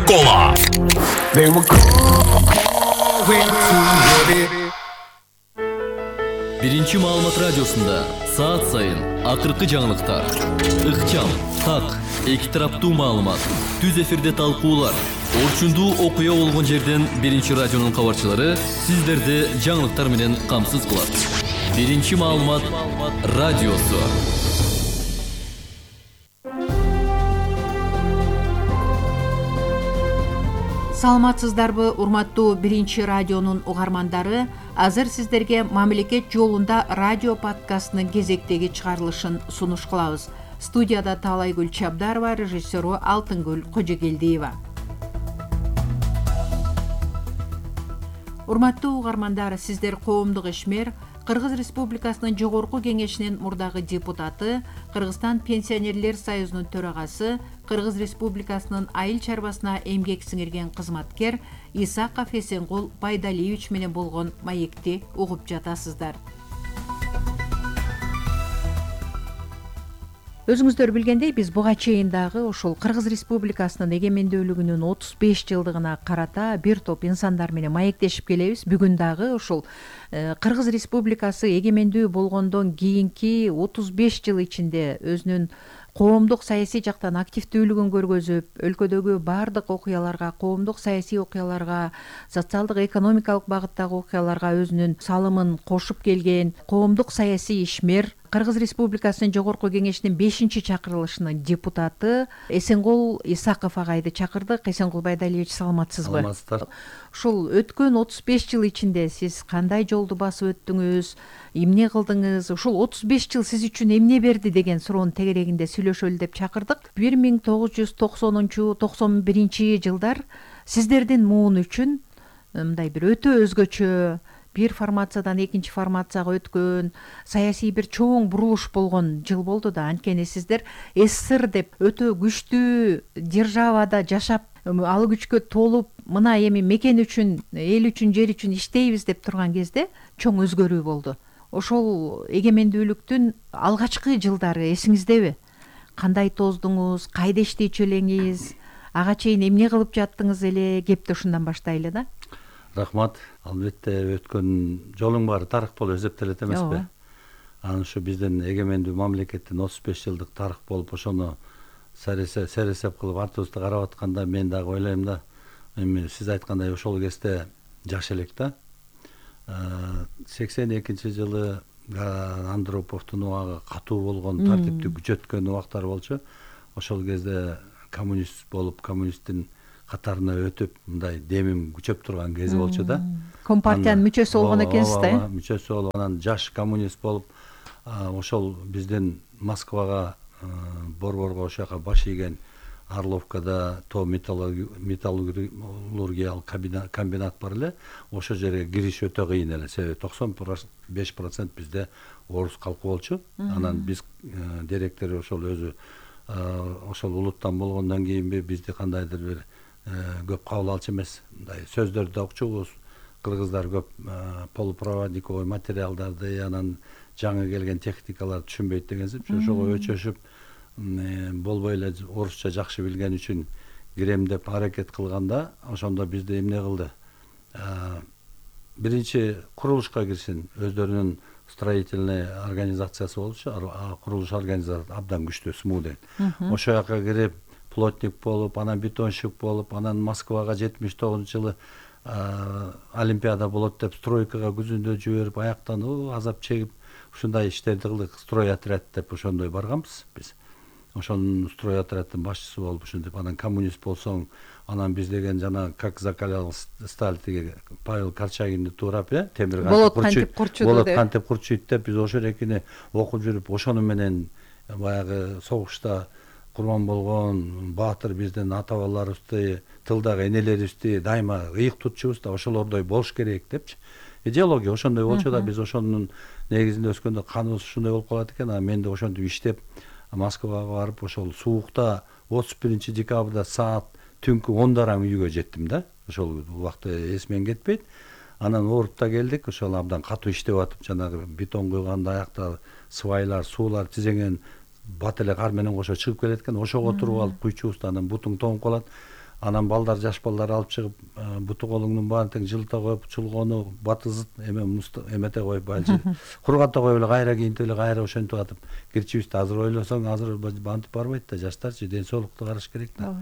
кола. Биринчи маалымат радиосунда саат сайын акыркы жаңылыктар, ыкчам, так, эки тараптуу маалымат, түз эфирде талкуулар, орчундуу окуя болгон жерден Биринчи радионун кабарчылары сиздерди жаңылыктар менен камсыз кылат. Биринчи маалымат радиосу. Саламатсыздарбы, урматтуу Биринчи радионун угармандары. Азыр сиздерге мамлекет жолунда радио подкастынын кезектеги чыгарылышын сунуш кылабыз. Студияда Таалайгүл Чабдарова, режиссеру Алтынгүл Кожогелдиева. Урматтуу угармандар, сиздер коомдук ишмер, Кыргыз Республикасынын Жогорку Кеңешинин мурдагы депутаты, Кыргызстан Пенсионерлер союзунун төрагасы, Кыргыз Республикасынын айыл чарбасына эмгек сиңирген кызматкер Исаков Эсенгул Байдалиевич менен болгон маекти угуп жатасыздар. Өзүңүздөр билгендей, биз буга чейин дагы ушул Кыргыз Республикасынын эгемендүүлүгүнүн 35 жылдыгына карата бир топ инсандар менен маектешип келебиз. Бүгүн дагы ушул Кыргыз Республикасы эгемендүү болгондон кийинки 35 жыл ичинде өзүнүн коомдук саясий жактан активдүүлүгүн көргөзүп, өлкөдөгү баардык окуяларга, коомдук саясий окуяларга, социалдык экономикалык багыттагы окуяларга өзүнүн салымын кошуп келген коомдук саясий ишмер, Кыргыз Республикасынын Жогорку Кеңешинин 5-чи чакырылышынын депутаты Эсенгул Исаков агайды чакырдык. Эсенгул Байдалиевич, саламатсызбы? Саламатсыздар. Ушул өткөн 35 жыл ичинде сиз кандай жолду басып өттүңүз, эмне кылдыңыз? Ушул 35 жыл сиз үчүн эмне берди деген суроонун тегерегинде сүйлөшөлү деп чакырдык. 1990-91 жылдар сиздердин муун үчүн мындай бир өтө өзгөчө, бир формациядан экинчи формацияга өткөн, саясий бир чоң бурулуш болгон жыл болду да. Анткени сиздер СССР деп өтө күчтүү державада жашап, ал күчкө толуп, мына эми мекен үчүн, эл үчүн, жер үчүн иштейбиз деп турган кезде чоң өзгөрүү болду. Ошол эгемендүүлүктүн алгачкы жылдары эсиңиздеби? Кандай тоздуңуз, кайда иштечү элеңиз, ага чейин эмне кылып жаттыңыз эле? Кепти ушундан баштайлы да. Рахмат. Албетте өткөн жолуң баары тарых болуп эсептелет эмеспи? Анан ушу биздин эгемендүү мамлекеттин 35 жылдык тарых болуп, ошону сересеп кылып артыбызды карап атканда мен дагы ойлойм да, эми сиз айткандай ошол кезде жаш элек да. 82 жылы Андроповдун убагы катуу болгон, тартипти күчөткөн убактар болчу. Ошол кезде коммунист болуп, коммунисттин катарына өтүп, мындай демим күчөп турган кези болчу да. Компартиянын мүчөсү болгон экенсиз да? Мүчөсү болуп, анан жаш коммунист болуп, ошол биздин Москвага, Борборго, ошол жака баш ийген Орловкада то металлургиялык комбинат бар эле. Ошол жерге кириш өтө кыйын эле. Себеби 95% бизде орус калкы болчу. Анан биз директор ошол өзү ошол улуттан болгондон кийинби бизди кандайдыр бир көп кабыл алчу эмес. Мындай сөздөрдү да укчубуз. Кыргыздар көп полупроводниковый материалдарды, анан жаңы келген техникаларды түшүнбөйт дегенсип, ошого өчөшүп болбой эле орусча жакшы билген үчүн кирем деп аракет кылганда, ошондо бизди эмне кылды? Биринчи курулушка кирсин, өздөрүнүн строительный организациясы болчу, курулуш организациясы абдан күчтүү, смуден. Ошол жака кирип, плотник болуп, анан бетонщик болуп, анан Москвага 79-жылы Олимпиада болот деп стройкага күзүндө жиберип, аяктан азап чегип, ушундай иштерди кылдык. Строй отряд деп ошондой барганбыз биз. Ошонун строй отряддын башчысы болуп ушинтип, анан коммунист болсоң, анан биз деген жана как закалял сталь тиги Павел Корчагинди туурап, темир кантип курчуйт деп биз ошол экини окуп жүрүп, ошону менен баягы согушта курман болгон баатыр биздин ата бабаларыбызды, тылдагы энелерибизди дайыма ыйык тутчубуз да, ошолордой болуш керек депчи. Идеология ошондой болчу да, биз ошонун негизинде өскөндө каныбыз ушундай болуп калат экен. Мен да ошентип иштеп Москвага барып, ошол суукта 31 декабрда саат түнкү 10:00 үйгө жеттим да. Ошол убакты эсимен кетпейт. Анан ооруп да келдик, ошол абдан катуу иштеп атып, жанагы бетон куйганда аякта свайлар, суулар тизеңен бат эле кар менен кошо чыгып келет экен. Ошого туруп алып куйчубуз, анан бутуң тоңуп калат. Анан балдар, жаш балдар алып чыгып, буту колуңдун баарын тең жылыта коюп, чулгону батызыт эмете коюп, баягы кургата коюп эле кайра кийинтип эле кайра ошентип атып кирчибизди. Азыр ойлосоң, азыр бантип барбайт да, жаштарчы ден соолукту караш керек да.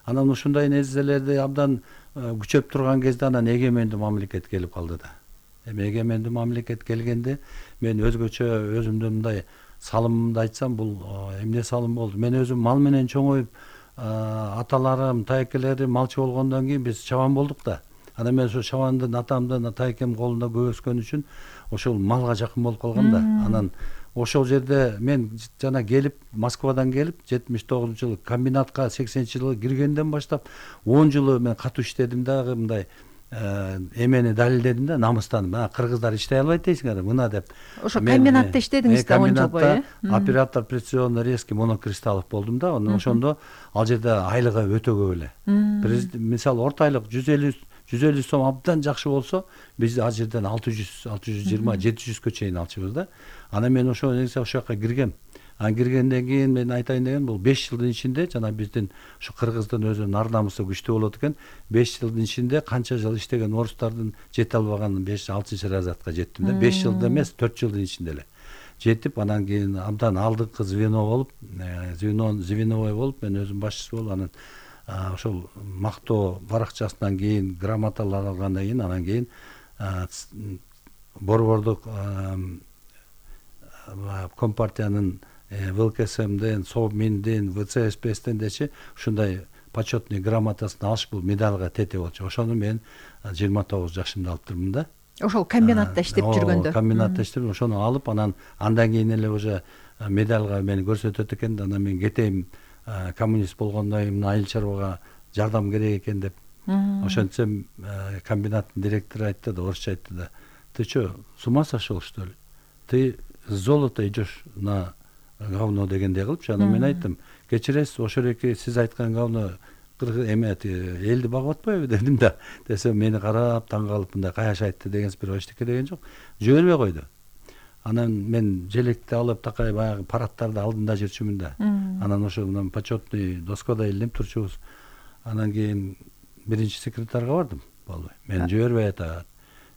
Анан ушундай нерселерди абдан күчөп турган кезде анан эгемендүү мамлекет келип калды да. Эми эгемендүү мамлекет келгенде мен өзгөчө өзүмдүн мындай салымымды айтсам, бул эмне салым болду. Мен өзүм мал менен чоңоюп, аталарым, тайкелерим малчы болгондон кийин биз чабан болдук да. Анан мен ошо чабандын атамдын, тайкем колунда көп өскөн үчүн ошол малга жакын болуп калгам да. Анан ошол жерде мен жана келип, Москвадан келип, 79-жылы комбинатка 80-жылы киргенден баштап 10 жылы мен катуу иштедим дагы, мындай эмени далилдедим да, намыстанып. Мына кыргыздар иштей албайт дейсиңер, мына деп. Ошо комбинатта иштедиңиз да 10 жыл бою. Оператор прецизионно резкий монокристаллов болдум да. Ошондо ал жерде айлыгы өтө көп эле. Мисалы орто айлык 150 сом абдан жакшы болсо, биз ал жерден 600, 620, 700-кө чейин алчыбыз да. Анан мен ошо жака киргем. Киргенден кийин мен айтайын деген, бул 5 жылдын ичинде жана биздин ушу кыргыздын өзүнүн ар намысы күчтүү болот экен. 5 жылдын ичинде канча жыл иштеген орустардын жете албаган 5-6 разрядка жеттим да. 5 жылда эмес, 4 жылдын ичинде эле жетип, анан кийин абдан алдыңкы звено болуп, звеновой болуп, мен өзүм башчысы болуп, анан ошол мактоо баракчасынан кийин грамоталар алгандан кийин, анан кийин борбордук компартиянын ВЛКСМден, СОБМИНден, ВЦСПСтен дечи ушундай почетный грамотасын алыш, бул медалга тете болчу. Ошону мен 29 жашымда алып турмун да. Ошол комбинатта иштеп жүргөндө. Комбинатта иштеп, ошону алып, анан андан кийин эле уже медалга мени көрсөтөт экен да. Анан мен кетейин, коммунист болгондон кийин айыл чарбага жардам керек экен деп. Ошентсем комбинаттын директору айтты да, орусча айтты да: "Ты что, с ума сошел, что ли? Ты с золота идешь на говно" дегендей кылыпчы. Анан мен айттым: "Кечиресиз, ошол эки сиз айткан говно элди багып атпайбы" дедим да. Десем мени карап таң калып, мындай каяш айтты дегенсиз, бирок эчтеке деген жок. Жибербей койду. Анан мен желекти алып такай баягы парадтарды алдында жүрчүмүн да. Анан ошо мына почетный доскада илинип турчубуз. Анан кийин биринчи секретарга бардым. Болбой. Мен жибербей атат.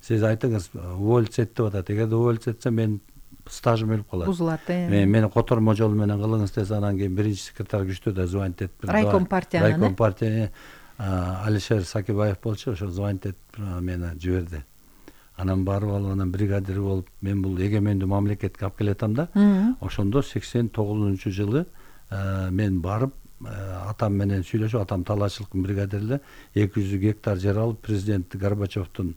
Сиз айтыңыз, уволить эт деп атат. Эгерде уволить этсем мен стажым өлүп калат. Бузулат. Мени котормо жол менен кылыңыз десе, анан кийин биринчи секретарь күчтүү да звонить этип. Райком партия Алишер Сакибаев болчу, ошо звонить этип мени жиберди. Анан барып алып, анан бригадир болуп, мен бул эгемендүү мамлекетке алып келатам да. Ошондо 89-жылы мен барып, атам менен сүйлөшүп, атам талаачылыктын бригадири, 200 гектар жер алып, президент Горбачевдун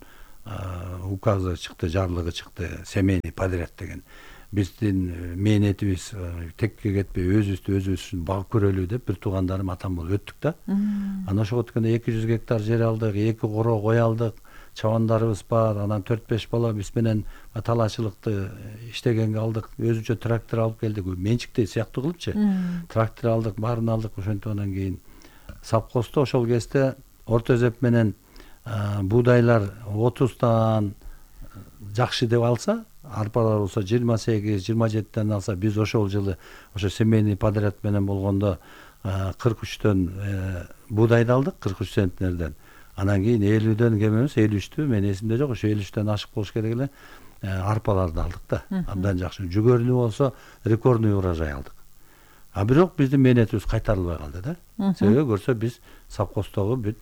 указы чыкты, жарлыгы чыкты, семейный подряд деген. Биздин мээнетибиз текке кетпей, өзүбүздү үчүн багып көрөлү деп, бир туугандарым атам болуп өттүк да. Анан ошого өткөндө 200 гектар жер алдык, 2 коро кой алдык, чабандарыбыз бар, анан 4-5 бала биз менен талаачылыкты иштегенге алдык, өзүнчө трактор алып келдик, менчиктей сыяктуу кылыпчы. Трактор алдык, баарын алдык, ошентип анан кийин совхоздо ошол кезде орто эсеп менен буудайлар 30тан жакшы деп алса, арпалар болсо 28-27тен алса, биз ошол жылы ошо семейный подряд менен болгондо 43төн буудайды алдык, 43 центнерден. Анан кийин 50дөн кем эмес, 53тү, мен эсимде жок, ошо 53төн ашык болуш керек эле, арпаларды алдык да. Абдан жакшы. Жүгөрүнү болсо рекордный урожай алдык. Бирок биздин мээнетибиз кайтарылбай калды да. Себеби көрсө биз совхоздогу бүт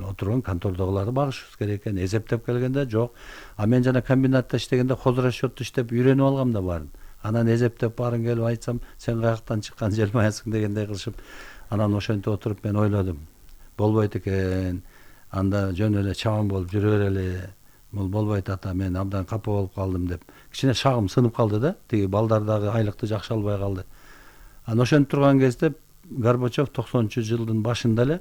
отурган контордогуларды багышыбыз керек экен. Эсептеп келгенде жок. Мен жана комбинатта иштегенде хозрасчётту иштеп үйрөнүп алгам да баарын. Анан эсептеп баарын келип айтсам, сен каяктан чыккан желмаясың дегендей кылышып, анан ошентип отуруп мен ойлодум. Болбойт экен. Анда жөн эле чабан болуп жүрө берели. Бул болбойт ата, мен абдан капа болуп калдым деп. Кичине шагым сынып калды да. Тиги балдар дагы айлыкты жакшы албай калды. Анан ошентип турган кезде Горбачев 90-жылдын башында эле,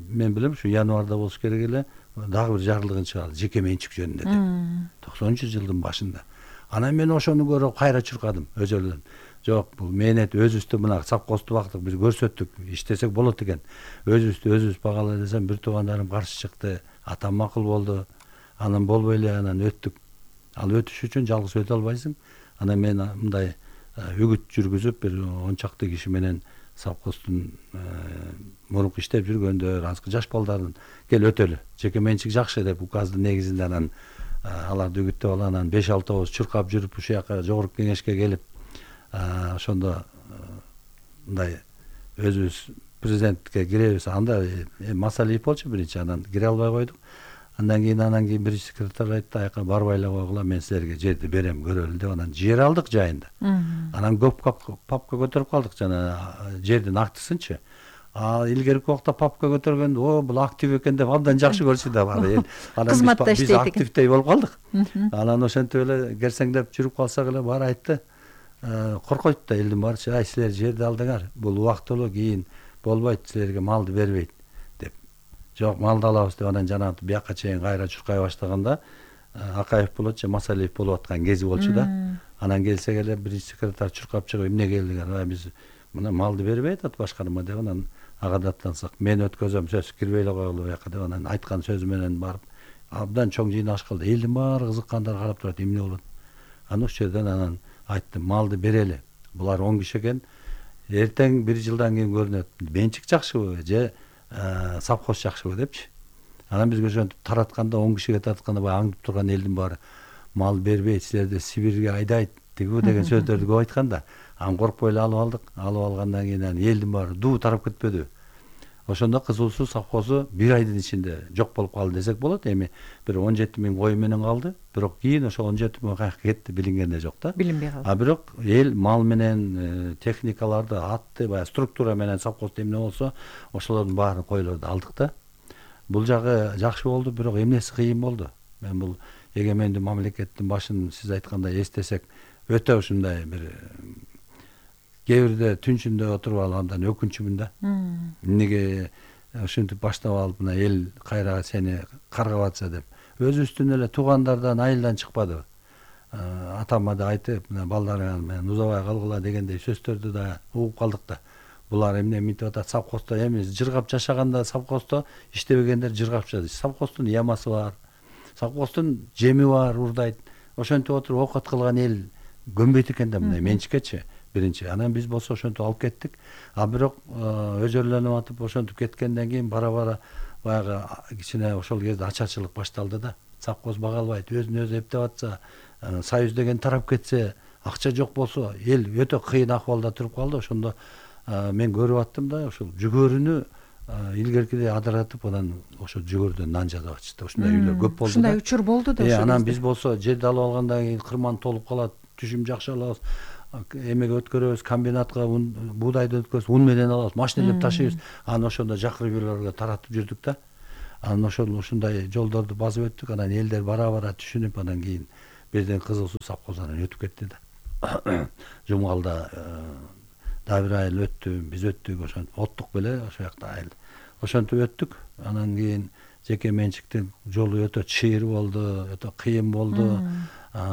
мен билем, ушу январда болуш керек эле, дагы бир жарлыгын чыгарды, жеке менчик жөнүндө деп. 90-жылдын башында. Анан мен ошону көрүп кайра чуркадым өзөлдөн. Жок, бул мээнет өзүбүздү мына совхозду бактык, биз көрсөттүк, иштесек болот экен. Өзүбүз багалы десем, бир туугандарым каршы чыкты, атам макул болду. Анан болбой эле, анан өттүк. Ал өтүш үчүн жалгыз өтө албайсың. Анан мен мындай үгүт жүргүзүп, бир 10 чакты киши менен совхоздун мурунку иштеп жүргөндөр, азыркы жаш балдарын кел өтөлү. Жеке менчик жакшы деп указдын негизинде анан аларды үгүттөп алып, анан 5-6 чуркап жүрүп ушул жака жогорку кеңешке келип, ошондо мындай өзүбүз президентке киребиз. Анда Масалиев болчу биринчи, анан кире албай койдук. Андан кийин биринчи секретарь айтты, аяка барбай эле койгула, мен силерге жерди берем, көрөлү деп, анан жер алдык жайында. Анан көп папка көтөрүп калдык, жана жердин актысынчы. Илгерки убакта папка көтөргөндө, бул актив экен деп абдан жакшы көрчү да бар эл. Кызматта иштейт экен. Биз активдей болуп калдык. Анан ошентип эле керсеңдеп жүрүп калсак эле баары айтты, коркойт да элдин баары, ай силер жерди алдыңар, бул убактылуу, кийин болбойт, силерге малды бербейт деп. Жок, малды алабыз деп, анан жанагы бияка чейин кайра чуркай баштаганда Акаев болот же Масалиев болуп аткан кези болчу да. Анан келсек эле биринчи секретарь чуркап чыгып, эмне келдиңер? Биз мына малды бербей атат башкарма деп, анан ага даттансак, мен өткөзөм, сөз кирбей эле койгула бияка деп, анан айткан сөзү менен барып абдан чоң жыйналыш кылды. Элдин баары кызыккандар карап турат, эмне болот? Анан ошол жерден анан айттым, малды берели. Булар 10 киши экен. Эртең 1 жылдан кийин көрүнөт. Менчик жакшыбы же совхоз жакшыбы депчи. Анан бизге ошентип таратканда 10 кишиге таратканда баягы аңдып турган элдин баары мал бербейт, силерди Сибирге айдайт деген сөздөрдү көп айткан да. Анан коркпой эле алып алдык. Алып алгандан кийин элдин баары дуу тарап кетпеди. Ошондо Кызыл Суу совхозу 1 айдын ичинде жок болуп калды десек болот. Эми бир 17 000 кой менен калды. Бирок кийин ошо 17 000 каяка кетти билингенде жок да. Билинбей калды. Бирок эл мал менен техникаларды, атты, баягы структура менен совхозда эмне болсо, ошолордун баарын койлорду алдык да. Бул жагы жакшы болду, бирок эмнеси кыйын болду. Мен бул эгемендүү мамлекеттин башын сиз айткандай эстесек, өтө ушундай бир кээ бирде түнчүндө отуруп алып андан өкүнчүмүн да. Эмнеге ушинтип баштап алып мына эл кайра сени каргап атса деп. Өзүбүздүн эле туугандардан айылдан чыкпады. Атама да айтып, мына балдарыңар менен узабай калгыла дегендей сөздөрдү да угуп калдык да. Булар эмне мынтип атат, совхоздо эми жыргап жашаганда совхоздо иштебегендер жыргап жашайт. Совхоздун ямасы бар. Совхоздун жеми бар, урдайт. Ошентип отуруп окат кылган эл көнбөйт экен да мындай менчикечи. Биринчи. Анан биз болсо ошентип алып кеттик. Бирок өзөрлөнүп атып ошентип кеткенден кийин бара-бара баягы кичине ошол кезде ачарчылык башталды да. Совхоз бага албайт, өзүн өзү эптеп атса, союз деген тарап кетсе, акча жок болсо, эл өтө кыйын акыбалда туруп калды. Ошондо мен көрүп аттым да, ошол жүгөрүнү илгеркидей адыратып, анан ошо жүгөрдөн нан жасап атышты. Ушундай үйлөр көп болду да. Ушундай учур болду да ошол. Анан биз болсо жерди алып алгандан кийин кырман толуп калат, түшүм жакшы алабыз. Эмеге өткөрөбүз, комбинатка буудайды өткөрөбүз, ун менен алабыз, машинелеп ташыйбыз. Анан ошондо жакыр үйлөргө таратып жүрдүк да. Анан ушундай жолдорду басып өттүк. Анан элдер бара-бара түшүнүп, анан кийин бирден Кызыл Суу совхозунан өтүп кетти да. Жумгалда да бир айыл өттү, биз өттүк, ошентип оттук беле ошол жакта айыл. Ошентип өттүк. Анан кийин жеке менчиктин жолу өтө чыйыр болду, өтө кыйын болду.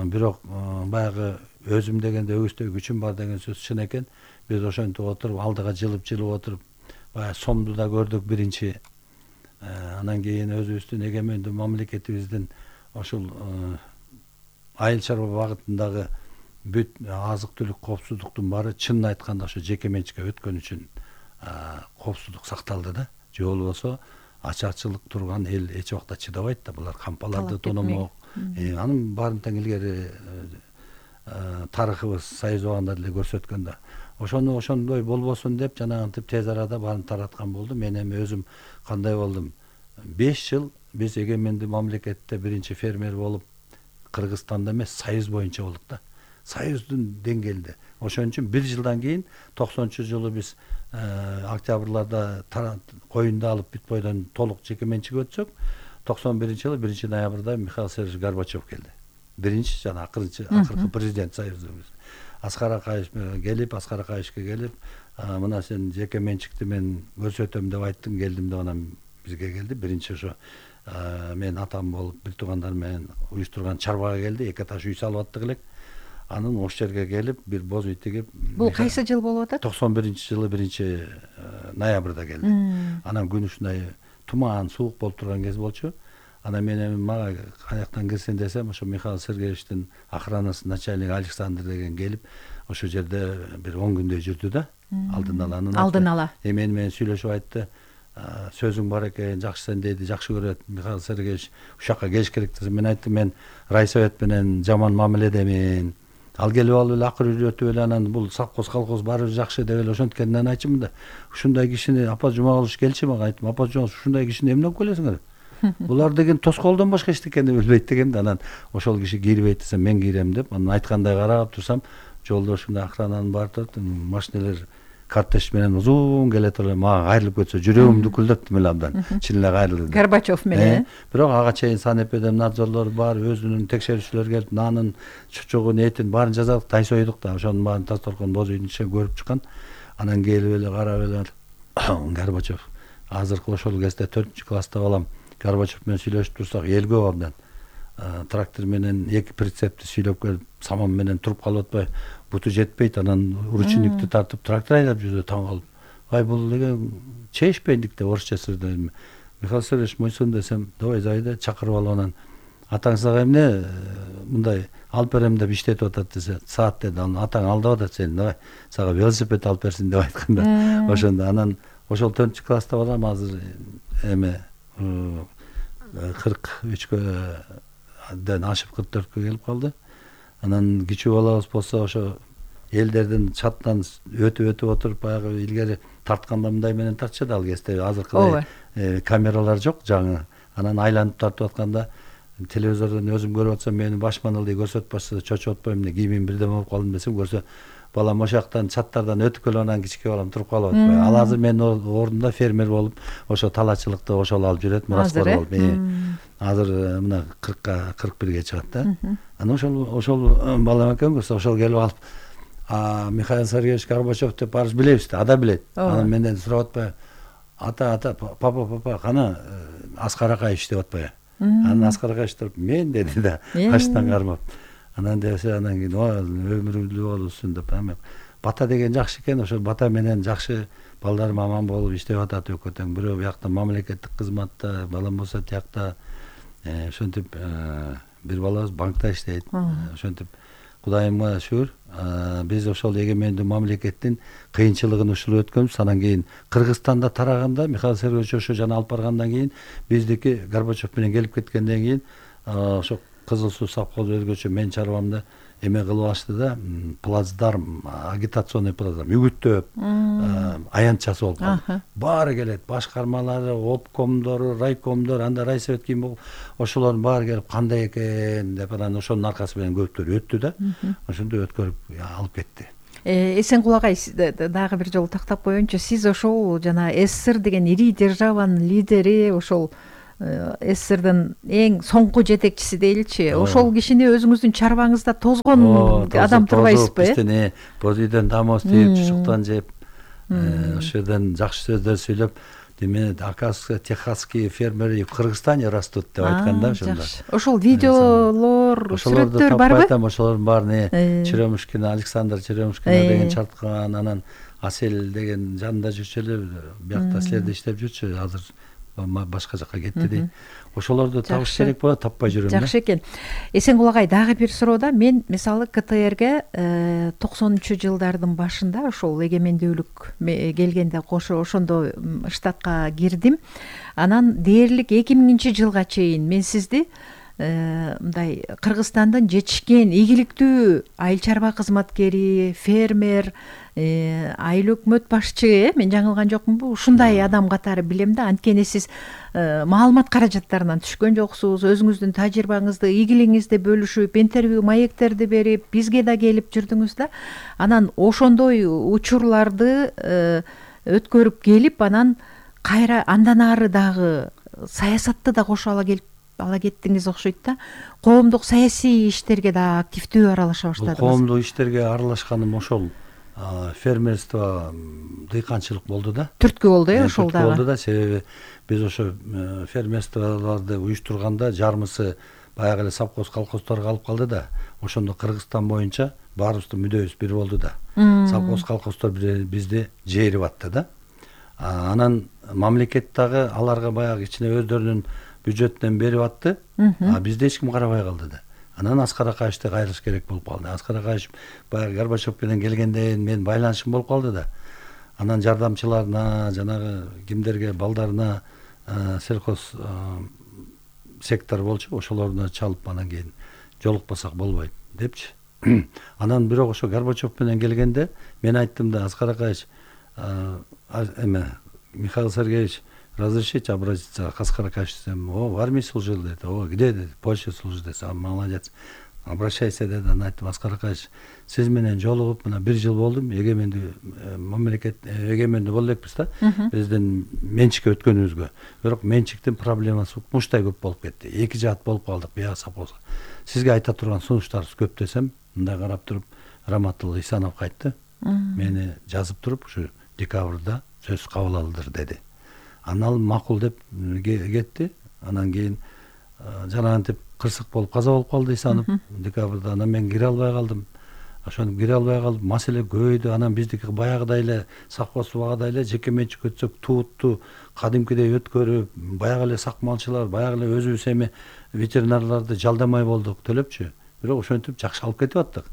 Бирок баягы өзүм дегенде өгүздөй күчүм бар деген сөз чын экен. Биз ошентип отуруп, алдыга жылып отуруп, баягы сомду да көрдүк биринчи. Анан кийин өзүбүздүн эгемендүү мамлекетибиздин ошол айыл чарба багытындагы бүт азык түлүк коопсуздуктун баары чынын айтканда ошо жеке менчикке өткөн үчүн коопсуздук сакталды да. Же болбосо ачарчылык турган эл эч убакта чыдабайт да. Булар кампаларды тономок. Анын баарын тең илгери тарыхыбыз союз убагында деле көрсөткөн да. Ошону ошондой болбосун деп жанагынтип тез арада баарын тараткан болду. Мен эми өзүм кандай болдум? 5 жыл биз эгемендүү мамлекетте биринчи фермер болуп, Кыргызстанда эмес, союз боюнча болдук да. Союздун деңгээлинде. Ошон үчүн 1 жылдан кийин 90-жылы биз октябрларда коюнду алып бүт бойдон толук жеке менчик өтсөк, 91-жылы 1-ноябрда Михаил Сергеевич Горбачев келди. Биринчи жана акыркы президент союзубуз. Аскар Акаевичке келип, мына сен жеке менчикти мен көрсөтөм деп айттың, келдим деп анан бизге келди. Биринчи ошо мен атам болуп бир туугандар менен уюштурган чарбага келди, 2 этаж үй салып аттык элек. Анын ошол жерге келип, бир боз үй тигип. Бул кайсы жыл болуп атат? 91-жылы 1-ноябрда келди. Анан күн ушундай туман, суук болуп турган кез болчу. Анан мен эми мага каяктан кирсин десем, ошо Михаил Сергеевичтин охранасы начальник Александр деген келип, ошол жерде бир 10 күндөй жүрдү да. Алдын ала. Менен сүйлөшүп айтты. Сөзүң бар экен, жакшы сен дейди, жакшы көрөт Михаил Сергеевич, ушакка келиш керек десем, мен айттым, мен райсовет менен жаман мамиледемин. Ал келип алып эле акыр үйрөтүп эле анан бул совхоз колхоз баары жакшы деп эле ошенткенден айтчымын да. Ушундай кишини апа Жумагулович келчи мага, айттым, апа Жумагулович ушундай кишини эмне алып келесиңер? Булар деген тоскоолдон башка эчтекени билбейт деген да. Анан ошол киши кирбейт десем, мен кирем деп, анан айткандай карап турсам, жолдо ушундай охрананын баары турат, машинелер кортеж менен узун келет эле, мага кайрылып кетсе жүрөгүм дүкүлдөп эле абдан. Чын эле кайрылды. Горбачев менен. Бирок ага чейин санэпидемнадзорлор бар, өзүнүн текшерүүчүлөр келип, нанын, чучугун, этин баарын жазадык, тайсойдук да. Ошонун баарын Тасторкон боз үйдүн ичинен көрүп чыккан. Анан келип эле карап эле Горбачев азыркы ошол кезде 4-класста балам Горбачев менен сүйлөшүп турсак, эл көп абдан. Трактор менен 2 прицепти сүйлөп келип, саман менен туруп калып атпай, буту жетпейт, анан ручникти тартып трактор айдап жүрдү, таң калып. Ай бул деген чейишпейдик деп орусча сөздөйм. Михаил Сергеевич мойсун десем, давай зайда чакырып алып анан атаң сага эмне мындай алып берем деп иштетип атат десе, саат деди. Анан атаң алдап атат сени, давай сага велосипед алып берсин деп айтканда. Ошондо анан ошол 4-класста балам азыр эме 43ден ашып 44кө келип калды. Анан кичүү балабыз болсо ошо элдердин чатынан өтүп отуруп, баягы илгери тартканда мындай менен тартчу да, ал кезде азыркыдай камералар жок жаңы. Анан айланып тартып атканда телевизордон өзүм көрүп атсам, мени башман ылдый көрсөтүп башса чочуп атпайм, эмне кийимим бирдеме болуп калдым десем, көрсө балам ошол жактан чаттардан өтүп келип анан кичике балам туруп калып атпайбы. Ал азыр менин ордумда фермер болуп, ошо талаачылыкты ошол алып жүрөт, мураскор болуп. Азыр мына 40-ка 41ге чыгат да. Анан ошол балам экен көрсө, ошол келип алып, Михаил Сергеевич Горбачев деп баарыбыз билебиз да, ада билет. Анан менден сурап атпайбы, ата, папа, кана Аскар Акаевич деп атпайбы. Анан Аскар Акаевич туруп, мен деди да, качтан кармап. Анан десе, анан кийин өмүрүңдүү болсун деп, бата деген жакшы экен, ошол бата менен жакшы балдарым аман болуп иштеп атат өкөтөң. Бирөө биякта мамлекеттик кызматта, балам болсо тиякта ошентип бир балабыз банкта иштейт. Ошентип Кудайыма шүгүр, биз ошол эгемендүү мамлекеттин кыйынчылыгын ушул өткөнбүз. Анан кийин Кыргызстанда тараганда, Михаил Сергеевич ошо жана алып баргандан кийин, биздики Горбачев менен келип кеткенден кийин, ошо Кызыл Суу совхозу өзгөчө мен чарбамда эме кылып ашты да, плацдарм, агитационный плацдарм, үгүттөп, аянтчасы болуп калды. Баары келет, башкармалары, обкомдору, райкомдор, анда райсовет кийин болуп, ошолордун баары келип, кандай экен деп, анан ошонун аркасы менен көптөр өттү да. Ошондо өткөрүп алып кетти. Эсенкул агай, дагы бир жолу тактап коеюнчу, сиз ошол жана СССР деген ири державанын лидери, ошол СССРдин эң соңку жетекчиси дейли, ошол кишини өзүңүздүн чарбаңызда тозгон адам турбайсызбы? Биздин боз үйдөн дамоз тийип, чучуктан жеп, ошол жерден жакшы сөздөр сүйлөп, деме оказывается, техасские фермеры в Кыргызстане растут деп айтканда ошондо. Ошол видеолор, сүрөттөр барбы? Ошолордун баарын Черемушкина, Александр Черемушкина деген чарткан, анан Асель деген жанында жүрчү эле, биякта силерде иштеп жүрчү, азыр башка жакка кетти дейт. Ошолорду табыш керек болот, таппай жүрөм да. Жакшы экен. Эсенкул агай, дагы бир суроо. Мен мисалы КТРге 90-жылдардын башында ошол эгемендүүлүк келгенде кошо ошондо штатка кирдим. Анан дээрлик 2000-жылга чейин мен сизди мындай Кыргызстандын жетишкен ийгиликтүү айыл чарба кызматкери, фермер, айыл өкмөт башчы, мен жаңылган жокмунбу? Ушундай адам катары билем да. Анткени сиз маалымат каражаттарынан түшкөн жоксуз, өзүңүздүн тажрыйбаңызды, ийгилигиңизди бөлүшүп, интервью маектерди берип, бизге да келип жүрдүңүз да. Анан ошондой учурларды өткөрүп келип, анан кайра андан ары дагы саясатты да кошо ала кеттиңиз окшойт да. Коомдук саясий иштерге да активдүү аралаша баштадыңыз. Коомдук иштерге аралашканым ошол фермерство, дыйканчылык болду да. Түрткү болду, ошол дагы. Болду да, себеби биз ошо фермерстволорду уюштурганда жармысы баягы эле совхоз колхоздорго алып калды да. Ошондо Кыргызстан боюнча баарыбыздын мүдөбүз бир болду да. Совхоз колхоздор бизди жээрип атты да. Анан мамлекет дагы аларга баягы кичине өздөрүнүн бюджеттен берип атты, бизде эч ким карабай калды да. Анан Аскар Акаевичти кайрылыш керек болуп калды. Аскар Акаевич баягы Горбачев менен келгенден мен байланышым болуп калды да. анан жардамчыларына, жанагы кимдерге, балдарына сельхоз сектор болчу, ошолоруна чалып анан кийин жолукпасак болбойт депчи. Анан бирок ошо Горбачев менен келгенде мен айттым да, Аскар Акаевич, Михаил Сергеевич, разрешите обратиться к Аскару Акаевичу десем, в армии служил, деди. Где, деди? В Польше служит, деди. Молодец. Обращайся, деди. Анан айттым, Аскар Акаевич, сиз менен жолугуп мына 1 жыл болдум, эгемендүү мамлекет эгемендүү болду элекпиз да, биздин менчикке өткөнүбүзгө. Бирок менчиктин проблемасы муштай көп болуп кетти. 2 жаат болуп калдык бияга совхозго. Сизге айта турган сунуштарыбыз көп десем, мындай карап туруп, Раматулла Исанов кайтты. Мени жазып туруп, ушу декабрда сөз кабыл алдыр деди. Анан макул деп кетти. Анан кийин жанагынтип кырсык болуп каза болуп калды Исанов декабрда. Анан мен кире албай калдым. Ошону кире албай калып, маселе көбөйдү. Анан биздики баягыдай эле совхоз убагыдай эле жеке менчик өтсөк туутту кадимкидей өткөрүп, баягы эле сакмалчылар, баягы эле өзүбүз эми ветеринарларды жалдамай болдук төлөпчү. Бирок ошентип жакшы алып кетип аттык.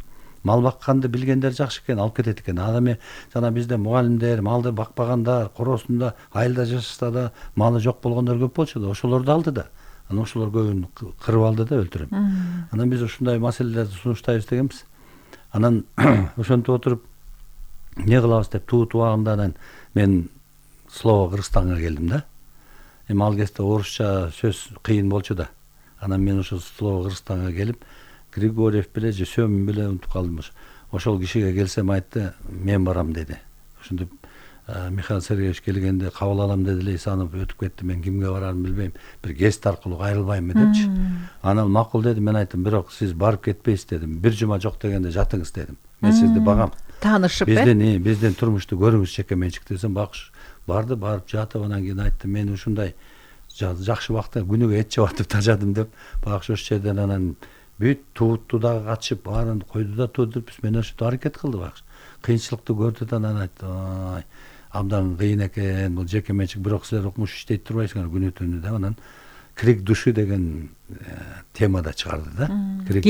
Мал бакканды билгендер жакшы экен, алып кетет экен. Ал эми жана бизде мугалимдер, малды бакпагандар, короосунда айылда жашаса да малы жок болгондор көп болчу да, ошолорду алды да. Анан ошолор көбүн кырып алды да, өлтүрүп. Анан биз ушундай маселелерди сунуштайбыз дегенбиз. Анан ошентип отуруп эмне кылабыз деп туут убагында анан мен Слово Кыргызстанга келдим да. Эми ал кезде орусча сөз кыйын болчу да. Анан мен ошо Слово Кыргызстанга келип, Григорьев беле же Сөмүн беле унутуп калдым. Ошол кишиге келсем айтты, мен барам деди. Ошентип Михаил Сергеевич келгенде кабыл алам деди эле, Исанов өтүп кетти, мен кимге барарын билбейм, бир гест аркылуу кайрылбаймбы депчи. Анан макул деди, мен айттым, бирок сиз барып кетпейсиз дедим. 1 жума жок дегенде жатыңыз дедим. Мен сизди багам. Таанышып Биздин турмушту көрүңүз жеке менчик десем, барды, барып жатып, анан кийин айтты, мен ушундай жакшы убакта күнүгө эт жабатып тажадым деп, багыш ошол жерден анан бүт туутту дагы катышып, баарын койду да туудуруп, мен ошентип аракет кылды багыш. Кыйынчылыкты көрдү да, анан айтты, абдан кыйын экен, бул жеке менчик, бирок силер укмуш иштейт турбайсыңар күнү түнү деп, анан крик души деген темада чыгарды да. Крик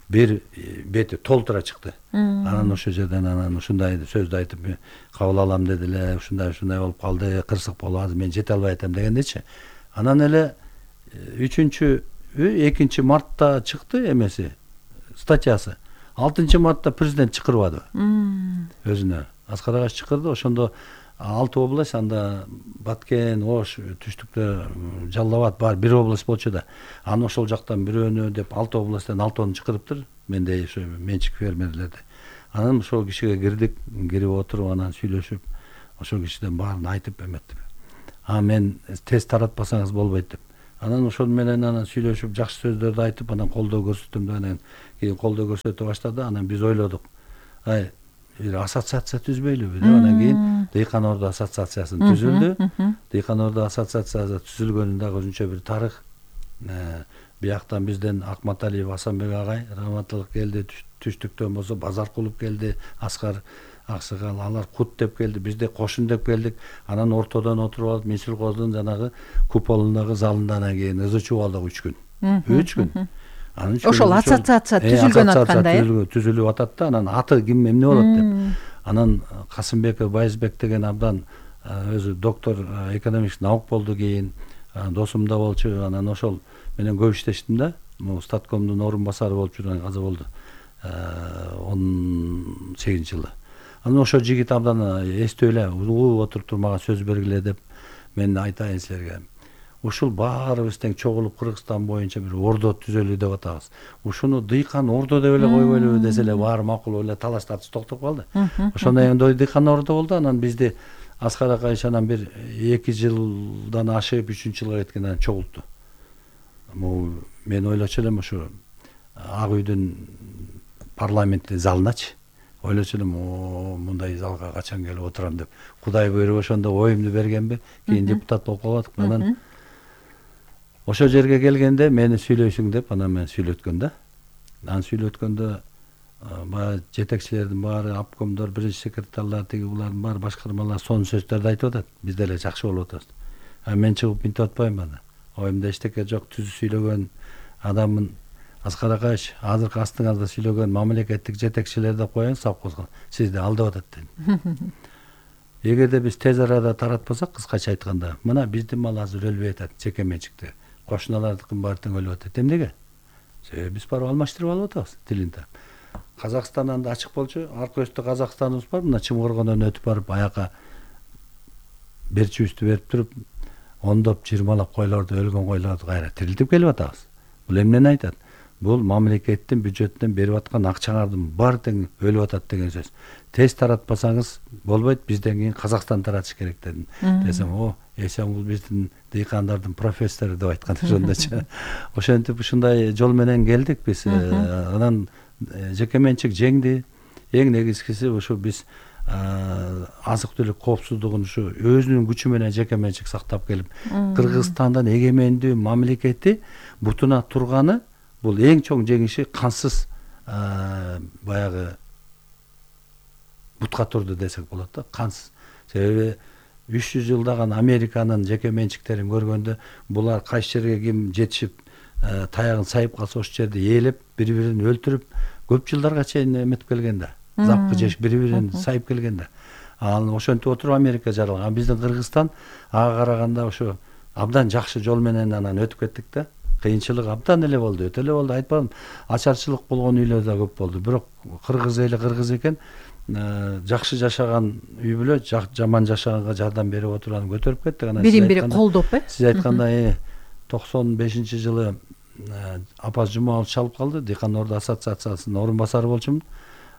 бир бети толтура чыкты. Анан ошол жерден анан ушундай сөздү айтып, кабыл алам деди эле, ушундай болуп калды, кырсык болуп, азыр мен жете албай атам дегендечи. Анан эле 2 мартта чыкты эмеси, статьясы. 6 мартта президент чакырбады өзүнө. Аскар Акаевич чакырды, ошондо 6 область, анда Баткен, Ош, түштүктө Жалал Абад бар 1 область болчу да. Анан ошол жактан бирөөнү деп 6 областтан 6-ны чакырыптыр, мендей ошо менчик фермерлерди. Анан ошол кишиге кирдик, кирип отуруп анан сүйлөшүп, ошол кишиден баарын айтып эметтим. Мен тез таратпасаңыз болбойт деп. Анан ошол менен анан сүйлөшүп, жакшы сөздөрдү айтып, анан колдоо көрсөттүм да, анан кийин колдоо көрсөтө баштады. Анан биз ойлодук, бир ассоциация түзбөйлүбү деп. Анан кийин Дыйкан Орду ассоциациясы түзүлдү. Дыйкан Орду ассоциациясы түзүлгөнүн дагы өзүнчө бир тарых. Бияктан бизден Акматалиев Асанбек агай, Раматылык келди, түштүктөн болсо Базаркулов келди, Аскар Аксакал, алар кут деп келди, бизде кошун деп келдик. Анан ортодон отуруп алып, Минсилхоздун жанагы куполундагы залында анан кийин ызычуу алдык 3 күн. 3 күн. Ошол ассоциация түзүлгөн атканда түзүлүп атат да, анан аты ким эмне болот деп. Анан Касымбеков Байызбек деген абдан өзү доктор экономических наук болду, кийин досум да болчу. Анан ошол менен көп иштештим да. Статкомдун орун басары болуп жүргөн каза болду 18-жылы. Анан ошол жигит абдан эстөө эле, угуп отуруп мага сөз бергиле деп, мен айтайын силерге. Ушул баарыбыз тең чогулуп Кыргызстан боюнча бир ордо түзөлү деп атабыз. Ушуну Дыйкан Ордо деп эле койбойлубу десе эле баары макул эле талаш тартыш токтоп калды. Ошондой Дыйкан Ордо болду. Анан бизди Аскар Акаевич анан бир 2 жылдан ашып 3-жылга кеткенден чогултту. Мен ойлочу элем ушу Ак үйдүн парламенттин залыначы. Ойлочу элем, мындай залга качан келип отурам деп. Кудай буйруп ошондо оюмду бергенби, кийин депутат болуп калдык. Анан ошол жерге келгенде мени сүйлөйсүң деп, анан мен сүйлөткөн да. Анан сүйлөткөндө баягы жетекчилердин баары, обкомдор, биринчи секретарлар, тиги булардын баары башкармалар сонун сөздөрдү айтып атат. Биз деле жакшы болуп атабыз. Мен чыгып минтип атпайм аны. Оюмда эчтеке жок, түз сүйлөгөн адаммын. Аскар Акаевич, азыркы астыңарда сүйлөгөн мамлекеттик жетекчилерди коюң совхозго. Сизди алдап атат дедим. эгерде биз тез арада таратпасак, кыскача айтканда, мына биздин мал азыр өлбөй атат, жеке менчикте. Кошуналардыкын баары тең өлүп атат. Эмнеге? Себеби биз барып алмаштырып алып атабыз тилинде. Казакстандан да ачык болчу, арка өстө Казакстаныбыз бар, мына Чымгыргондон өтүп барып аяка берчибизди берип туруп, ондоп, 20лап койлорду, өлгөн койлорду кайра тирилтип келип атабыз. Бул эмнени айтат? Бул мамлекеттин бюджетинен берип аткан акчаңардын баары тең өлүп атат деген сөз. Тез таратпасаңыз болбойт, бизден кийин Казакстан таратыш керек дедим. Десем, бул биздин дыйкандардын профессору деп айткан ошондочу. Ошентип ушундай жол менен келдик биз. Анан жеке менчик жеңди. Эң негизгиси ушу биз азык түлүк коопсуздугун ушу өзүнүн күчү менен жеке менчик сактап келип, Кыргызстандын эгемендүү мамлекети бутуна турганы бул эң чоң жеңиши кансыз баягы бутка турду десек болот да, кансыз. Себеби 300 жылдаган Американын жеке менчиктерин көргөндө булар кайсы жерге ким жетишип таягын сайып калса ошол жерде ээлеп, бири-бирин өлтүрүп, көп жылдарга чейин эметип келген да. Запкы жеш бири-бирин сайып келген да. Ал ошентип отуруп Америка жаралган. Биздин Кыргызстан ага караганда ошо абдан жакшы жол менен анан өтүп кеттик да. Кыйынчылык абдан эле болду, өтө эле болду. Айтпадым, ачарчылык болгон үйлөр да көп болду. Бирок кыргыз эли кыргыз экен, жакшы жашаган үй бүлө жаман жашаганга жардам берип отурганын көтөрүп кеттик. Анан бирин-бири колдоп, сиз айткандай 95-жылы Апаз Жумабаев чалып калды, Дыйкан Орду ассоциациясынын орун басары болчумун.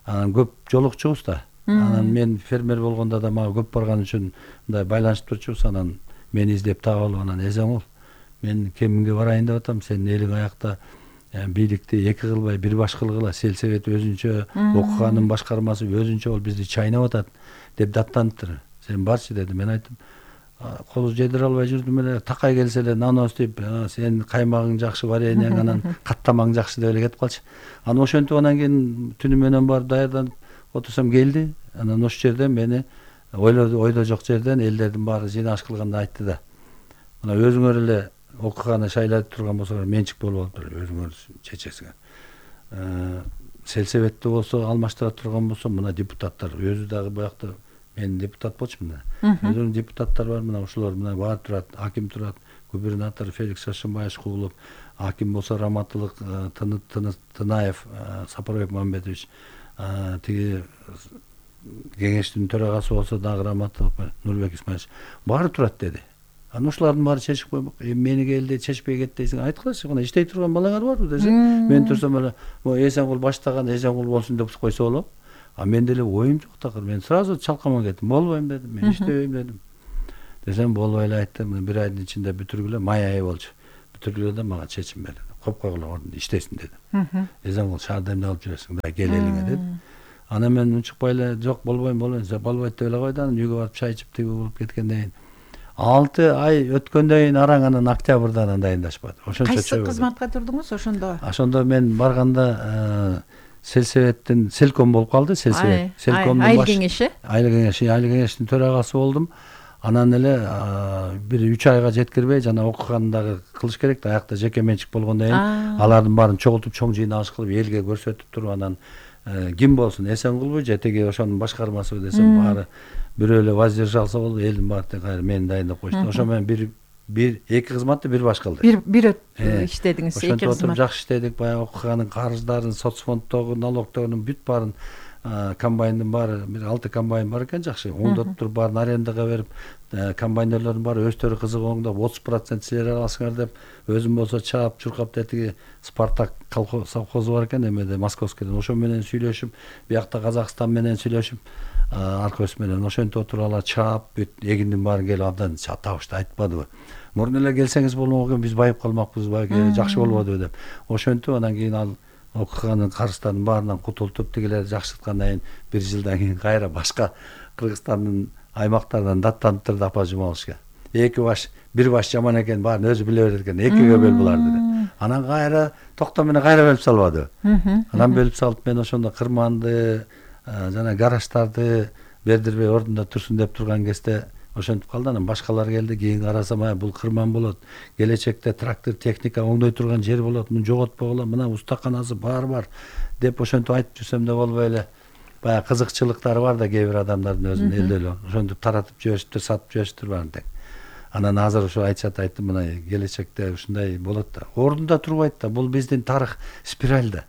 Анан көп жолукчубуз да. Анан мен фермер болгондо да мага көп барган үчүн мындай байланышып турчубуз. Анан мени издеп таап алып, анан эзеңол, мен кеминге барайын деп атам, сенин элиң аякта бийликти эки кылбай бир баш кылгыла, селсебет өзүнчө, окуганын башкармасы өзүнчө болуп бизди чайнап атат деп даттаныптыр. Сен барчы деди. Мен айттым, кол жедире албай жүрдүм эле, такай келсе эле наноз деп, сен каймагың жакшы, вареньең, анан каттамаң жакшы деп эле кетип калчы. Анан ошентип анан кийин түнү менен барып даярданып отурсам келди. Анан ошол жерден мени ойдо жок жерден элдердин баары жыйналыш кылганда айтты да. Мына өзүңөр эле окуганы шайлап турган болсоңор менчик болуп алыптыр, өзүңөр чечесиңер. Селсебетте болсо алмаштыра турган болсо, мына депутаттар өзү дагы буякта мен депутат болчумун да. Өзүнүн депутаттар бар, мына ошолор мына баары турат, аким турат, губернатор Феликс Шашымбаев куулуп, аким болсо Раматылык Тынаев Сапарбек Мамбетович, тиги кеңештин төрагасы болсо дагы Раматылык Нурбек Исмаилович баары турат деди. Анан ошолордун баары чечип коймок. Мени келди, чечпей кетти дейсиң, айткылачы, мына иштей турган балаңар барбы десем, мен турсам эле, Эсенгул баштаган, Эсенгул болсун деп койсо болот. А мен деле оюм жок такыр. Мен сразу чалкаман кеттим. Болбойм дедим. Мен иштебейм дедим. Десем болбой эле айттым. Бир айдын ичинде бүтүргүлө, май айы болчу. Бүтүргүлө да мага чечим берди. Коюп койгула, ордунда иштесин дедим. Эсенгул шаардайымда алып жүрөсүң, да кел элиңе деди. Анан мен унчукпай эле, жок болбойм, болбойт деп эле койду. Анан үйгө барып чай ичип тиги болуп кеткенден кийин 6 ай өткөндөн кийин араң анан октябрдан дайындашпады. Ошончо кайсы кызматка турдуңуз ошондо? Ошондо мен барганда селсебеттин селком болуп калды, селсебет. Селкомдун айыл кеңеши? Айыл кеңештин төрагасы болдум. Анан эле бир 3 айга жеткирбей жана окуганды дагы кылыш керек да, аякта жеке менчик болгондон кийин алардын баарын чогултуп чоң жыйналыш кылып элге көрсөтүп туруп, анан ким болсун, Эсенгулбу же тиги ошонун башкармасыбы десем, баары бирөө эле воздержался болду, элдин баары тең кайра мени дайындап коюшту. Ошо менен бир эки кызматты бир баш кылдык. Бир иштедиңиз, эки кызмат. Ошентип жакшы иштедик, баягы окуганын карыздарын, соцфонддогу, налогдордун бүт баарын, комбайндын баары, бир 6 комбайн бар экен, жакшы оңдоп туруп, баарын арендага берип, комбайнерлордун баары өздөрү кызыгып оңдоп, 30% силер аласыңар деп, өзүм болсо чаап, чуркап тетиги Спартак совхозу бар экен, эмеде Московскийден, ошо менен сүйлөшүп, биякта Казакстан менен сүйлөшүп, арка өс менен ошентип отуруп алар чаап, бүт эгиндин баарын келип абдан табышты, айтпадыбы. Мурун эле келсеңиз болмок экен, биз байып калмакпыз, жакшы болбодубу деп. Ошентип анан кийин ал окуганын карыздардын баарынан кутултуп, тигилерди жакшырткандан кийин 1 жылдан кийин кайра башка Кыргызстандын аймактарынан даттанып Апаз Жумабаевичке. Бир баш жаман экен, баарын өзү биле берет экен, экиге бөл буларды деп. Анан кайра токтом менен кайра бөлүп салбады. Анан бөлүп салып, мен ошондо кырманды жана гараждарды бердирбей ордунда турсун деп турган кезде ошентип калды. Анан башкалар келди, кийин карасам, бул кырман болот, келечекте трактор техника оңдой турган жер болот, муну жоготпогула, мына устаканасы бар деп ошентип айтып жүрсөм да болбой эле баягы кызыкчылыктары бар да кээ бир адамдардын өзүнүн элдөө ошентип таратып жибериптир, сатып жибериптир баарын тең. Анан азыр ошо айттым, мына келечекте ушундай болот да. Ордунда турбайт да. Бул биздин тарых спираль да.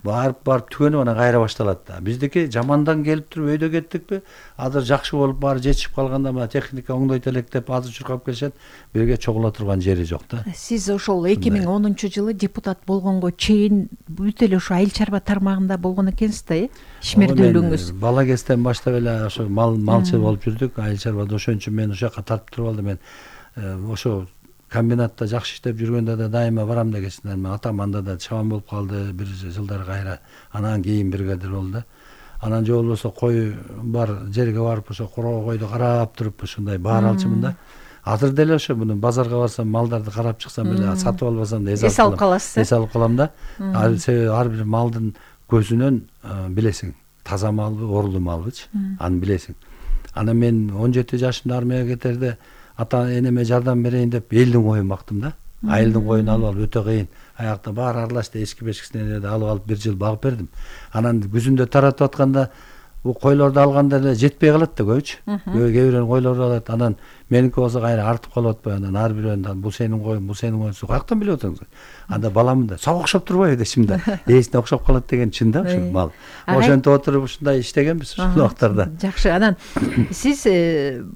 Барып түгөнүп анан кайра башталат да. Биздики жамандан келип туруп өйдө кеттикпи, азыр жакшы болуп баары жетишип калганда мына техника оңдойт элек деп азыр чуркап келишет, бирге чогула турган жери жок да. Сиз ошол 2010-жылы депутат болгонго чейин бүт эле ошо айыл чарба тармагында болгон экенсиз да, ишмердүүлүгүңүз. Бала кезден баштап эле ошо малчы болуп жүрдүк, айыл чарбада. Ошон үчүн мен ошол жака тартып туруп алдым. Мен ошо комбинатта жакшы иштеп жүргөндө да дайыма барам дегенсиндер. Мен атам анда да чабан болуп калды бир жылдар кайра. Анан кийин бригадир болду да. Анан же болбосо кой бар жерге барып ошо короо койду карап туруп ушундай баар алчумун да. Азыр деле ошо муну базарга барсам, малдарды карап чыксам эле, сатып албасам да эс алып каласыз. Эс алып калам да. Себеби ар бир малдын көзүнөн билесиң, таза малбы, оорулуу малбычы, аны билесиң. Анан мен 17 жашымда армияга кетерде ата энеме жардам берейин деп элдин коюн бактым да. Айылдын коюн алып өтө кыйын. Аякта баары аралашты, эски бешкисинен эле алып бир жыл багып бердим. Анан күзүндө таратып атканда бул койлорду алганда эле жетпей калат да көбүчү. Кээ бирөөнүн койлору алат. Анан меники болсо кайра артып калып атпайбы? Анан ар бирөөнүн бул сенин коюң, бул сенин коюң. Каяктан билип атасың? Анда баламын да, сага окшоп турбайбы дешим да. Ээсине окшоп калат деген чын да ушул мал. Ошентип отуруп ушундай иштегенбиз ушул убактарда. Жакшы. Анан сиз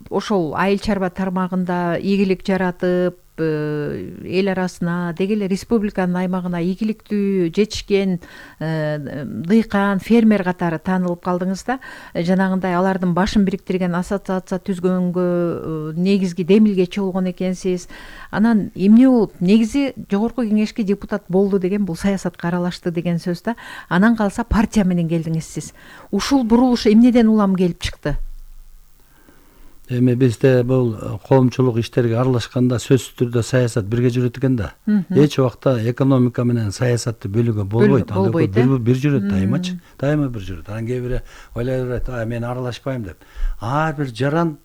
ошол айыл чарба тармагында ийгилик жаратып, эл арасына, деги эле республиканын аймагына ийгиликтүү жетишкен дыйкан, фермер катары таанылып калдыңыз да. Жанагындай алардын башын бириктирген ассоциация түзгөнгө негизги демилгечи болгон экенсиз. Анан эмне болуп негизи жогорку кеңешке депутат болду деген бул саясатка аралашты деген сөз да. Анан калса партия менен келдиңиз сиз. Ушул бурулуш эмнеден улам келип чыкты? Эми бизде бул коомчулук иштерге аралашканда сөзсүз түрдө саясат бирге жүрөт экен да. Эч убакта экономика менен саясатты бөлүүгө болбойт. Бир жүрөт дайымачы. Дайыма бир жүрөт. Анан кээ бири ойлойт, мен аралашпайм деп. Ар бир жаран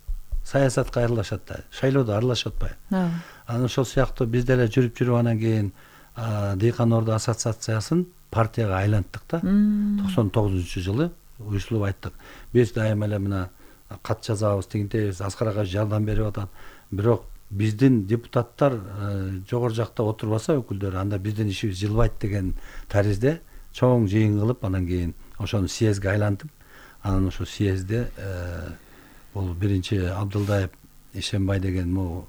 саясатка аралашат да. Шайлоодо аралашып атпайбы? Анан ошол сыяктуу биз деле жүрүп анан кийин Дыйкан Орду ассоциациясын партияга айланттык да. 99-жылы уюшулуп айттык. Биз дайыма эле мына кат жазабыз, тигинтебиз, Аскар ага жардам берип атат. Бирок биздин депутаттар жогору жакта отурбаса өкүлдөр, анда биздин ишибиз жылбайт деген таризде чоң жыйын кылып, анан кийин ошону съездге айлантып, анан ошо съездде бул биринчи Абдылдаев Ишембай деген могу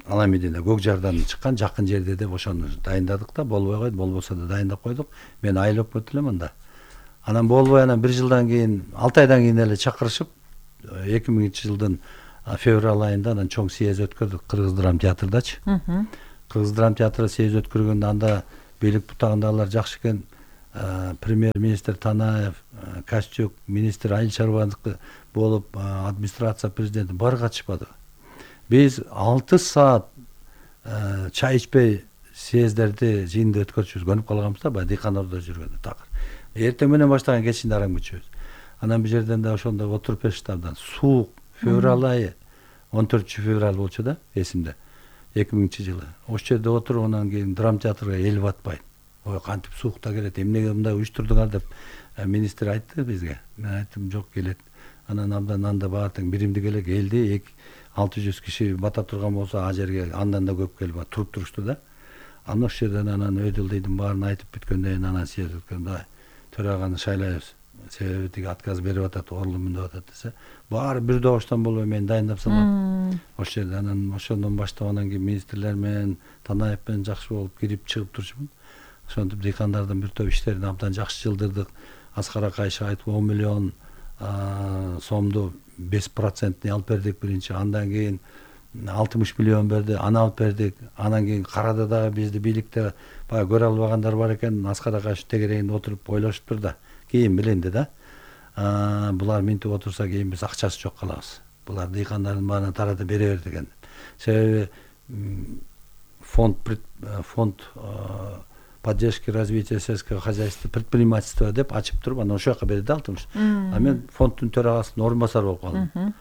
Аламедине Көк Жардан чыккан жакын жерде деп ошону дайындадык да, болбой койду, болбосо да дайындап койдук. Мен айыл өкмөтү элем анда. Анан болбой анан бир жылдан кийин, 6 айдан кийин эле чакырышып, 2000-жылдын февраль айында анан чоң съезд өткөрдүк Кыргыз драм театрдачы. Кыргыз драм театры съезд өткөргөндө анда бийлик бутагындагылар жакшы экен. Премьер-министр Танаев, Каччук, министр айыл чарбалык болуп, администрация президенти баары катышпады. Биз 6 саат чай ичпей съездерди жыйынды өткөрчүбүз, көнүп калганбыз да, баягы Дыйкан Ордо жүргөндө такыр. Эртең менен баштаган кечинде арам күчөбүз. Анан бир жерден да ошондо отуруп беришти абдан. Суук, февраль айы, 14-февраль болчу да, эсимде. 2000-жылы. Ошол жерде отуруп анан кийин драм театрга эл батпайт. Ой, кантип суукта келет, эмнеге мындай уюштурдуңар деп министр айтты бизге. Мен айттым, жок, келет. Анан абдан анда баары тең биримдик эле келди. 600 киши бата турган болсо, а жерге андан да көп келип туруп турушту да. Анан ошол жерден анан өдүлдүйдүн баарын айтып бүткөндөн кийин анан съезд өткөндө төраганы шайлайбыз. Себеби тиги отказ берип атат, орлумун деп атат десе, баары бир добуштан болбой мен дайындап салам. Ошол жерде анан ошондон баштап анан кийин министрлер менен Танаев менен жакшы болуп кирип чыгып турчумун. Ошентип дыйкандардын бир топ иштерин абдан жакшы жылдырдык. Аскар Акайшы айтып 10 миллион сомду 5% алып бердик биринчи. Андан кийин 60 миллион берди, аны алып бердик. Анан кийин карады дагы бизди бийликте баягы көрө албагандар бар экен. Аскар Акайшы тегерегинде отуруп ойлошуптур да. Кийин билинди да. Булар минтип отурса кийин биз акчасы жок калабыз. Булар дыйкандардын баарына таратып бере бер деген. Себеби фонд поддержки развития сельского хозяйства, предпринимательства деп ачып туруп, анан ошол жака берди алтымыш. А мен фонддун төрагасынын орун басары болуп калдым.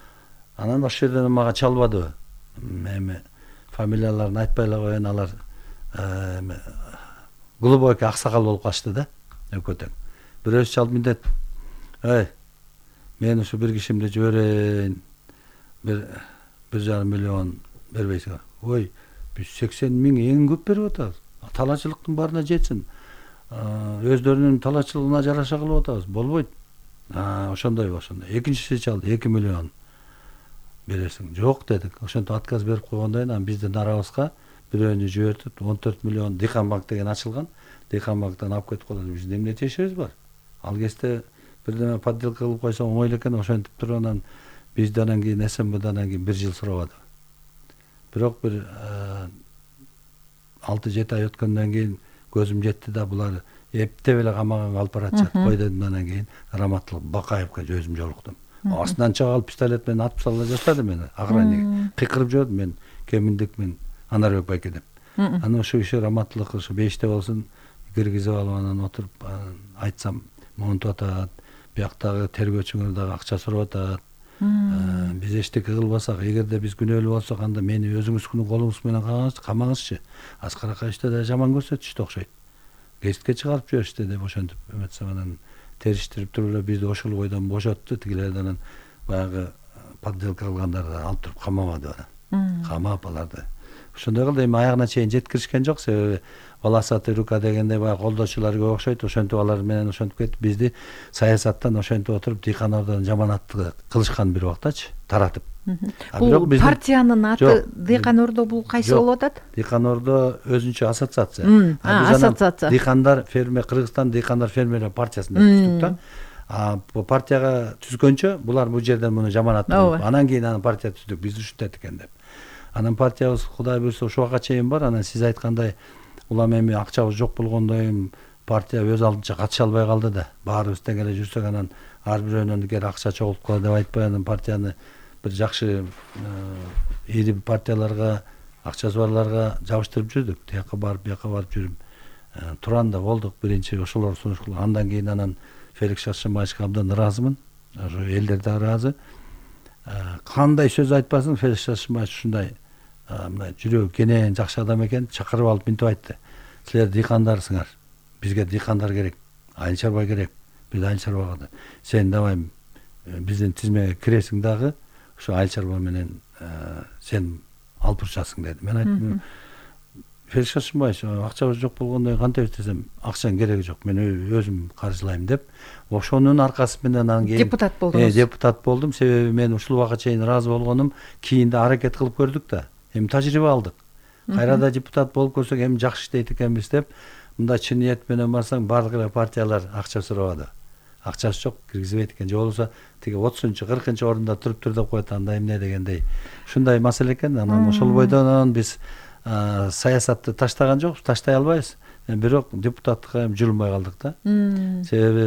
Анан ошол жерден мага чалбады. Эми фамилияларын айтпай эле коеюн, алар глубокий аксакал болуп калышты да, өкөтөң. Бирөөсү чалып мындет мен ушу бир кишимди жиберейин, 1,5 миллион бербейсиңер. Ой, биз 80 миң эң көп берип атабыз. Талаачылыктын баарына жетсин. Өздөрүнүн талаачылыгына жараша кылып атабыз. Болбойт. Ошондой. Экинчиси чалды, 2 миллион бересиң. Жок дедик. Ошентип отказ берип койгондон кийин биздин арабызга бирөөнү жибертип 14 миллион Дыйканбанк деген ачылган. Дыйканбанктан алып кетип калат. Биздин эмне тиешебиз бар? Ал кезде бирдеме подделка кылып койсоң оңой эле экен. Ошентип туруп анан бизди анан кийин СМБдан 1 жыл сурабады. Бирок бир 6-7 ай өткөндөн кийин көзүм жетти да, булар эптеп эле камаганга алып баратышат. Кой дедим, анан кийин Раматтылык Бакаевка өзүм жолуктум. Астынан чыгып алып пистолет менен атып сала жаштады мени. Охранник кыйкырып жиберди, мен кеминдикмин, Анарбек байке деп. Анан ошол киши Раматтылык ушу 5те болсун киргизип алып анан отуруп айтсам монтуп атат. Бияктагы тергөөчүңөр дагы акча сурап атат. Биз эчтеке кылбасак, эгерде биз күнөөлүү болсок, анда мени өзүңүздүн колуңуз менен камаңызчы. Аскар Акаевичти да жаман көрсөтүштү окшойт. Гезитке чыгарып жиберишти деп ошентип эметсем, анан териштирип туруп эле бизди ошол бойдон бошотту. Тигилерди анан баягы подделка кылгандарды алып туруп камамады анан. Камап аларды. Ошондой кылды. Эми аягына чейин жеткиришкен жок, себеби Волосатый рука дегенде баягы колдоочулар көп окшойт. Ошентип алар менен ошентип кетип бизди саясаттан ошентип отуруп Дыйканордон жаманатты кылышкан бир убактачы, таратып. Бул партиянын аты Дыйканордо бул кайсы болуп атат? Дыйканордо өзүнчө ассоциация. Ассоциация. Дыйкандар фермер, Кыргызстан Дыйкандар фермерлер партиясында түздүк да. Бу партияга түзгөнчө булар бул жерден муну жаманат кылып, анан кийин анан партия түздүк, биз ушинтет экен деп. Анан партиябыз Кудай буйрса ушул убакка чейин бар. Анан сиз айткандай улам эми акчабыз жок болгондон кийин партия өз алдынча катыша албай калды да. Баарыбыз тең эле жүрсөк, анан ар бирөөнүн эгер акча чогултуп кала деп айтпай, анан партияны бир жакшы ири партияларга, акчасы барларга жабыштырып жүрдүк. Тияка барып, бияка барып жүрүп туран да болдук. Биринчи ошолор сунуш кылган. Андан кийин анан Феликс Шаршембаевичке абдан ыраазымын. Ошо элдер да ыраазы. Кандай сөз айтпасын, Феликс Шаршембаевич ушундай мындай жүрөгү кенен жакшы адам экен. Чакырып алып мынтип айтты: "Силер дыйкандарсыңар. Бизге дыйкандар керек. Айыл чарба керек. Биз айыл чарбага сен давай биздин тизмеге киресиң дагы, ошо айыл чарба менен сен алып урушасың" деди. Мен айттым: "Феликс Шаршембаевич, акчабыз жок болгондон кантебиз десем, акчанын кереги жок. Мен өзүм каржылайм" деп. Ошонун аркасы менен анан кийин депутат болдуңуз. Депутат болдум. Себеби мен ушул убакка чейин ыраазы болгонум, кийин да аракет кылып көрдүк да. Эми тажрыйба алдык. Кайрада депутат болуп көрсөк, эми жакшы иштейт экенбиз деп, мындай чын ниет менен барсаң, бардык эле партиялар акча сурабады. Акчасы жок, киргизбейт экен. Же болбосо тиги 30-40 орунда туруптур деп коет, анда эмне дегендей. Ушундай маселе экен. Анан ошол бойдон биз саясатты таштаган жокпуз, таштай албайбыз. Бирок депутаттыкка эми жүрүлмөй калдык да. Себеби